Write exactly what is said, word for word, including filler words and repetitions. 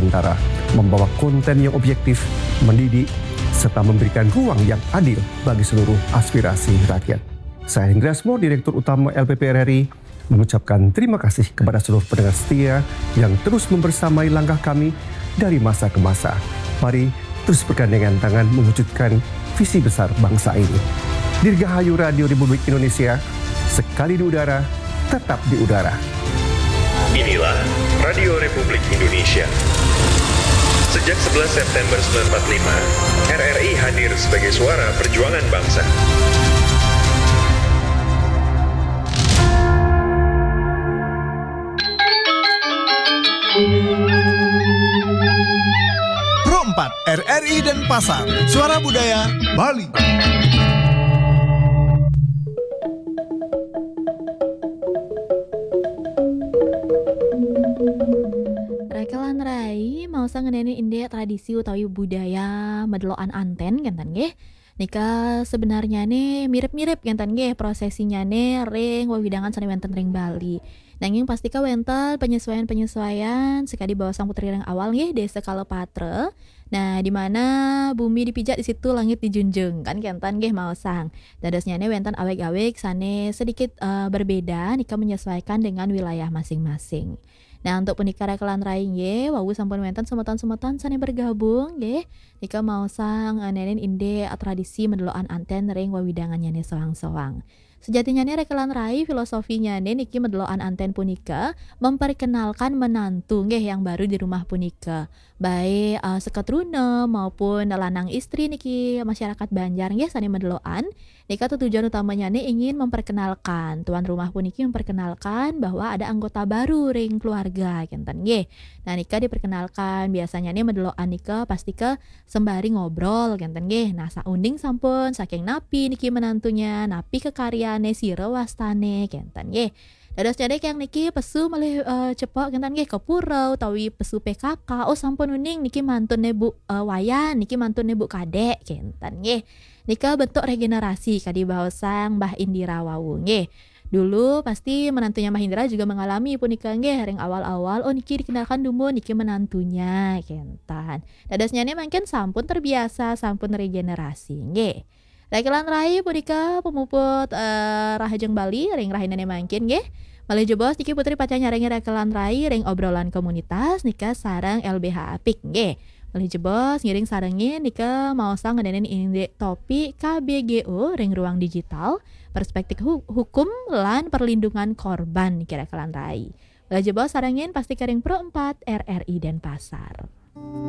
Antara membawa konten yang objektif, mendidik, serta memberikan ruang yang adil bagi seluruh aspirasi rakyat. Saya Hendra Asmor, Direktur Utama L P P R R I, mengucapkan terima kasih kepada seluruh pendengar setia yang terus membersamai langkah kami dari masa ke masa. Mari terus bergandengan tangan mewujudkan visi besar bangsa ini. Dirgahayu Radio Republik Indonesia, sekali di udara, tetap di udara. Inilah Radio Republik Indonesia. Sejak sebelas September sembilan empat lima, R R I hadir sebagai suara perjuangan bangsa. Pro empat, R R I Denpasar, Suara Budaya Bali. Rakelan rai, mau sa ngeneni inde tradisi utawi budaya medeloan anten kenten nggih. Nika sebenarnya ne mirip-mirip kenten nggih prosesinya ne ring wewidangan sane wenten ring Bali. Nanging pastika wenten penyesuaian-penyesuaian sekadi baosang putri ring awal nggih, desa kala patra. Nah, di mana bumi dipijak di situ langit dijunjung kan kenten nggih maosang. Dadosnya ne wenten awig-awig sane sedikit eh, berbeda nika menyesuaikan dengan wilayah masing-masing. Nah, untuk punika rakelan rai nggih, wau sampun wenten semeton-semeton sane bergabung nggih. Nika maosang eh, ngenenin inde eh, tradisi medeloan anten ring wewidangannya ne soang-soang. Sejatinya ne rakelan rai filosofinya ne niki medeloan anten punika memperkenalkan menantu nggih yang baru di rumah punika. Baik eh, seketruna maupun lanang istri niki masyarakat Banjar nggih sane medeloan. Nika tujuan utamanya ne ingin memperkenalkan tuan rumah puniki memperkenalkan bahwa ada anggota baru ring keluarga kenten nggih. Nah, nika diperkenalkan biasanya ne medeloan nika pastika sembari ngobrol kenten nggih. Nah, saunding sampun saking napi niki menantunya, napi kekaryane, sira wastane kenten nggih. Dados nyadek yang niki pesu malih eh, cepok kenten nggih ke pura utawi pesu P K K. Oh sampun uning niki mantun ne Bu eh, Wayan, niki mantun ne Bu Kadek kenten nggih. Nika bentuk regenerasi kadi baosang Mbah Indira wau nggih. Dulu pasti menantunya Mbah Indira juga mengalami punika nggih ring awal-awal, oh niki dikenalkan dumun niki menantunya kenten. Dadosnya ne mangkin sampun terbiasa, sampun regenerasi nggih. Rakelan rai punika pemuput eh, Rahajeng Bali ring rahinane mangkin nggih. Malih jebos niki Putri pacang nyarengi rakelan rai ring obrolan komunitas nika sareng L B H Apik nggih. Malih jebos ngiring sarengin nika maosang ngenenin indik topik K B G O ring ruang digital, perspektif hu- hukum lan perlindungan korban niki rakelan rai. Malih jebos sarengin pasti kering Pro empat R R I Denpasar.